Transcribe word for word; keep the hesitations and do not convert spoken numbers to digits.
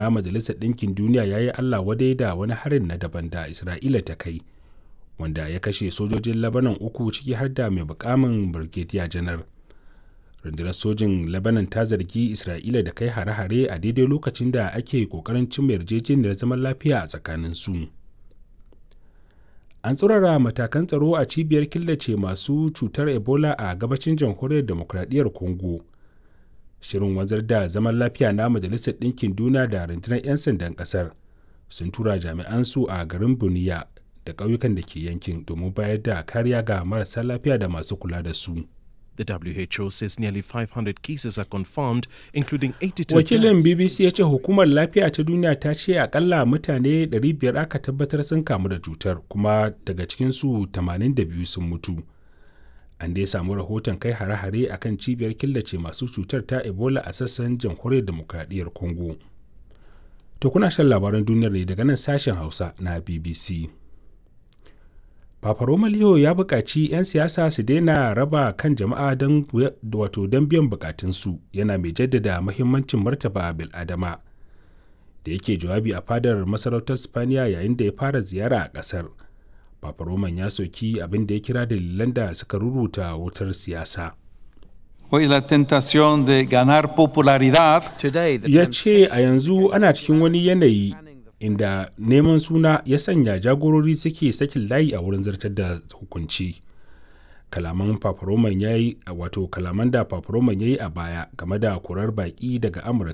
Na Majalisar Ɗinkin Duniya ya yi Allah-wadai da wani harin na daban da Isra'ila ta kai, wanda ya kashe sojojin Lebanon uku ciki har da mai muƙamin Birgediya Janar. Rundunar Sojin Lebanon ta zargi Isra'ila da kai hare-hare a daidai lokacin da ake ƙoƙarin cimma yarjejeniyar zaman lafiya a tsakaninsu. An tsaurara matakan tsaro a cibiyar killace masu cutar Ebola a gabashin Jamhuriyar Dimokuraɗiyyar Congo. Shirin wanzar da zaman lafiya na Majalisar Ɗinkin Duniya da Rundunar 'Yan Sandan ƙasar sun tura jami'ansu a garin Bunia da ƙauyukan da ke yankin domin bayar da kariya ga marasa lafiya da masu kula da su. The W H O says nearly five hundred cases are confirmed, including eighty-two Wakilin deaths. B B C ya ce Hukumar Lafiya ta Duniya ta ce akalla mutane ɗari biyar aka tabbatar sun kamu da cutar, kuma daga cikinsu tamanin da biyu sun mutu. An dai samu rahoton kai hare-hare a kan cibiyar killace masu cutar ta Ebola a sassan Jamhuriyar Dimokuraɗiyyar Congo. To, kuna shan labaran duniyar ne daga nan sashen Hausa na B B C. Papa Roma Leo ya buƙaci 'yan siyasa su daina raba kan jama'a don wato don biyan buƙatunsu, yana mai jaddada mahimmancin martaba bil'adama. Da yake jawabi a fadar masarautar Spaniya yayin da ya fara ziyara a ƙasar, Papa Roman ya soki abin da ya kira dalilan da suka ruruta wutar siyasa. Hoy la tentación de ganar popularidad Today, the Ya ce a yanzu ana cikin wani yanayi inda neman suna ya sanya jagorori suke sakin layi a wurin zartar da hukunci. Kalaman Paparoman ya yi wato kalaman da Paparoman ya yi a baya game da korar baƙi daga Amurka.